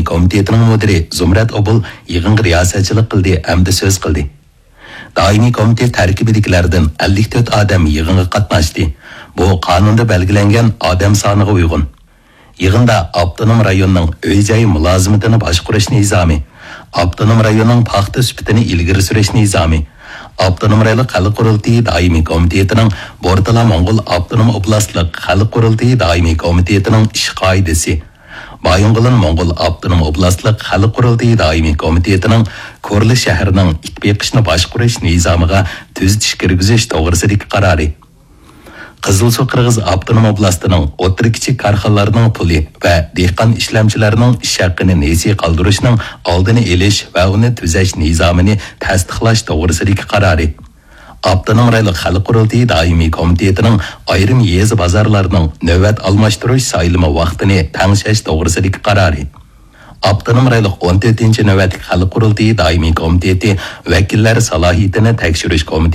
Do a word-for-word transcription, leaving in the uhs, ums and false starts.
كومىتېتىنىڭ مۇدىرى زۇمرەت ئوبۇل يىغىنغا رىياسەتچىلىك قىلدى ھەمدە سۆز قىلدى. دائىمىي كومىتېت تەركىبىدىكىلەردىن ئەللىك تۆت ئادەم يىغىنغا قاتناشتى. بۇ قانۇندا بەلگىلەنگەن ئادەم سانىغا ئۇيغۇن. يىغىندا ئاپتونوم رايوننىڭ ئۆي-جاي مۇلازىمىتىنى باشقۇرۇش نىزامى، ئاپتونوم رايوننىڭ پاختا سۈپىتىنى ئىلگىرى سۈرۈش نىزامى، ئاپتونوم رايونلۇق خەلق قۇرۇلتىيى دائىمىي كومىتېتىنىڭ بورتالا موڭغۇل ئاپتونوم ئوبلاستلىق خەلق قۇرۇلتىيى دائىمىي كومىتېتىنىڭ ئىش قائىدىسى، بايىنغولىن موڭغۇل ئاپتونوم ئوبلاستلىق خەلق قۇرۇلتىيى دائىمىي كومىتېتىنىڭ كورلا شەھىرىنىڭ ئىت بېقىشنى باشقۇرۇش نىزامىغا تۈزىتىش كىرگۈزۈش توغرىسىدىكى قارارى، قىزىلسۇ قىرغىز ئاپتونوم ئوبلاستىنىڭ ئوتتۇرا، كىچىك كارخانىلارنىڭ پۇلى ۋە دېھقان ئىشلەمچىلەرنىڭ ئىش ھەققىنى نېسى قالدۇرۇشنىڭ ئالدىنى ئېلىش ۋە ئۇنى تۈزەش نىزامىنى تەستىقلاش توغرىسىدىكى قارارى، ئاپتونوم رايونلۇق خەلق قۇرۇلتىيى دائىمىي كومىتېتىنىڭ ئايرىم يېزا بازارلارنىڭ نۆۋەت ئالماشتۇرۇش سايلىمى ۋاقتىنى تەڭشەش توغرىسىدىكى قارارى، ئاپتونوم رايونلۇق ئون تۆتىنچى نۆۋەتلىك خەلق قۇرۇلتىيى دائىمىي كومىتېتى ۋەكىللەر سالاھىيىتىنى تەكشۈرۈش كومىتېتى